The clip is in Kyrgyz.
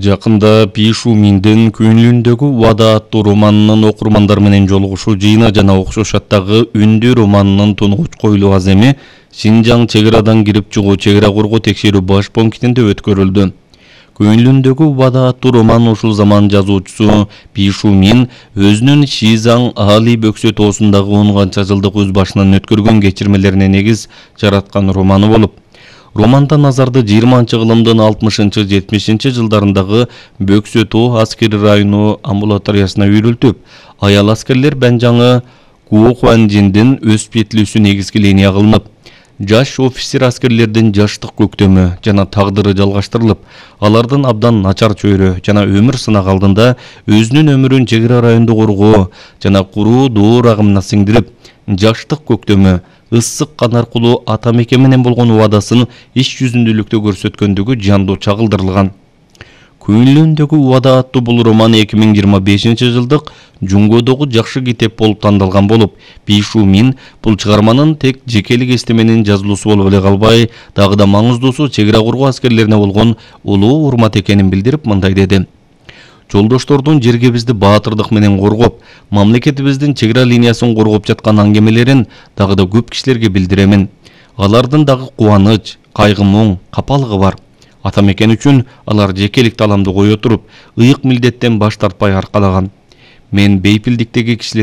Жакында Пишу Миндин көңүлүндөгү убада аттуу романынын окурмандар менен жолугушуу жыйыны жана окшош аттагы Үндү романынын тунугуч коюлуу аземи Синжаң чек арадан кирип чыгуу чек ара коргоо текшерүү баш пунктинде өткөрүлдү. Көңүлүндөгү убада аттуу роман ушул заман жазуучусу Пишу Мин өзүнүн Шизаң Али бөксө тоосундагы 10 канча жылдык өз башынан өткөргөн кечирмелерине негиз жараткан романы болуп, романда назарды 20-кылымдын 60-70 жылдарындагы Бөксө тоо аскери району амбулаториясына үйрүлтүп, аял аскерлер Бенжаңы Куохуанжиндин өз петлүүсү негизги линия кылынып, жаш офицер аскерлердин жаштык көктөмү жана тагдыры жалгаштырылып, алардын абдан начар чөйрө жана өмүр сынак алдында өзүнүн өмүрүн чек ара районду коргоо жана куруу доор агымына сиңдирип, жаштык көктөмү, ысык кан аркылуу ата мекен менен болгон убадасын иш жүзүндүүлүктө көрсөткөндүгү жандуу чагылдырылган. Көңүлүндөгү убада аттуу бул роман 2025 жылдык Жунгодогу жакшы китеп болуп тандалган болуп, Пишу Мин бул чыгарманын тек жекелик эстеменин жазылуусу болуп эле калбай, дагы да маңыздуусу чек ара коргоо аскерлерине болгон улуу урмат экенин билдирип мындай деди: Жолдоштордун жергебизди баатырдык менен коргоп, мамлекетибиздин чек ара линиясын коргоп жаткан аңгемелерин дагы да көп кишилерге билдиремин. Алардын дагы кубаныч, кайгы муң, капалыгы бар. Ата мекен үчүн алар жекелик таламды кое туруп, ыйык милдеттен баш тартпай аркалаган. Мен бейпилдиктеги кишилер